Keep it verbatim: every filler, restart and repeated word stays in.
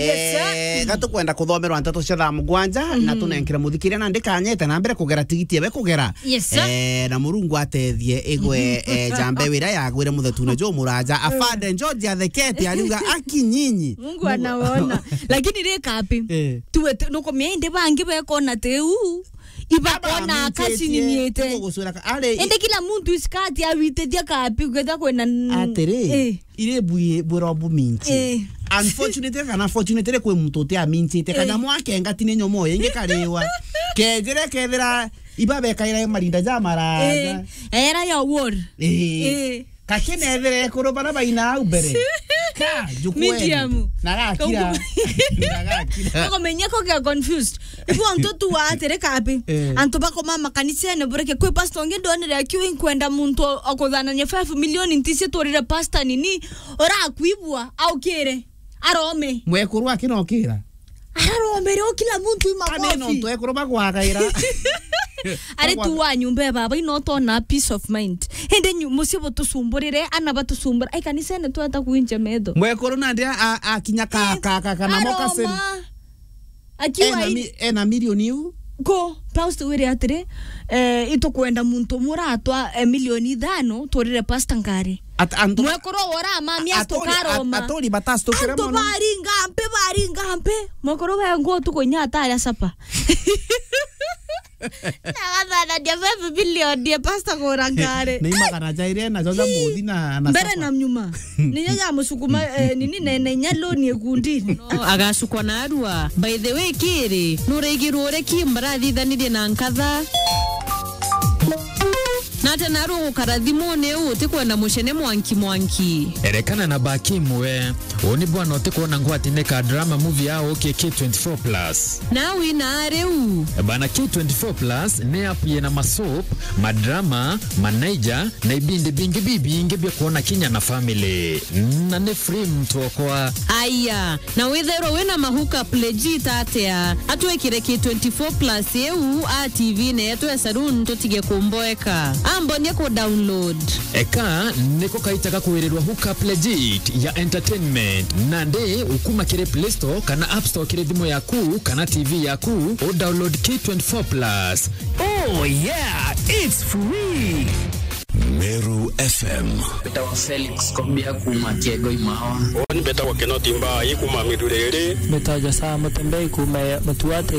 Yes, sir. Eh, ga tukwenda kuthomerwa nteto cia thaa mugwanja, na tunenkire muthikiria na ndikanyete na mbere kugera tigiti ewe kugera. Yes, sir. Eh, na Murungu atethie igwe, eh, jambe wira yagwire muthetune jo muraja. Afande George athekete, ariuga, "Aki nyinyi." Mungu anaona. Lakini rika api? Eh. Tuwe tu-, nukumia indi bangi bekona teu. Ibakona akacinyinyiite. Indi kila muntu isikati awitithia kapi, gwetha kwina n-, atiri, eh, iri bwi-, bwiro buminti. Eh. Unfortunately kana fortunately kwi muntu uti amintite, kana, eh, mwakenga tini nyomo ingi kariwa. Kejire kethira iba bekaira marinda ja maraja. Eh. Era ya war. Eh. Eh. Kakinethire ekuru bara baina au mbere. Ka, jukweni. Medium. Na gakira. Na gakira. Nako menyeko kia confused. Ibu antu tu wa atiri kapi. Eh. Antu bakoma makanisene bureke kwi pastor ngi ndonire akiu inkwenda muntu akuthanania five million ntisi turire pastor nini urakwibua aukire. Arome. Mwekuru akinokira. Araromere o kila muntu ima. Kana no ntu ekuru bagwagaira. Ari tu wa nyumba ya baba ino tona peace of mind. Hende nyu-, mucii butucumburire, ana batucumbura. Ai kanisene tweta kuinja metho. Mwekuru nandi a, a, akinya ka, eh, ka, ka, kana mokaseni. Aroma. Akiwa ena mi-, ena milioni iu. Ko, Paulo wire atiri, eh, itukwenda muntu umwe uratwa, eh, milioni ithano, turire pastor ngari. At-, antu mwekuru wora mami at-, aturi, at-, astukaroma. Aturi batastukire. Antu mono. Baringa mpe, baringa mpe. Mwekuru we ngo tukunya atari asapa. Na gathana dia five million dia pastor kura ngari. Ni magana jaire na joja muthi na, na mbere sapa. Na nyuma. Niyo ya musukuma, eh, nini nene inya loan ikundi. No, agacukwa na arua. By the way, kiri, nuraigirwo uri ki mbarathithanirie na nkatha? Na ati naru gukara thimuni uu utikwenda mucene mwanki mwanki. Erekana na baki imwe. Uu ni bwana utikwona ngwatine ka drama movie ya ukie K twenty-four plus. Na wina riu. Bana K twenty-four plus ni app yina masoap, madrama, manaija, na ibindi bingi bibingi bia kwona kinya na family. Na ni free mtu okwa. Aya, na withairwa wina ma hookup legit atia? Atwikire K twenty-four plus iu a T V ne yetu ya saloon tutige kumboeka. Ambonie ku download. Eka niko kaitaga kwirirwa hookup legit ya entertainment. Nandi ukuma kiri Play Store kana App Store kiri thimu yaku kana T V yaku, u download K twenty-four plus. Oh yeah, it's free. Meru F M. Mbetawa Felix Kobia kuma Kiego Imawa. Mbetawa Kinoti Mbai kuma Miruriri. Mbetawa Jasa Mutembei kuma Mutuate.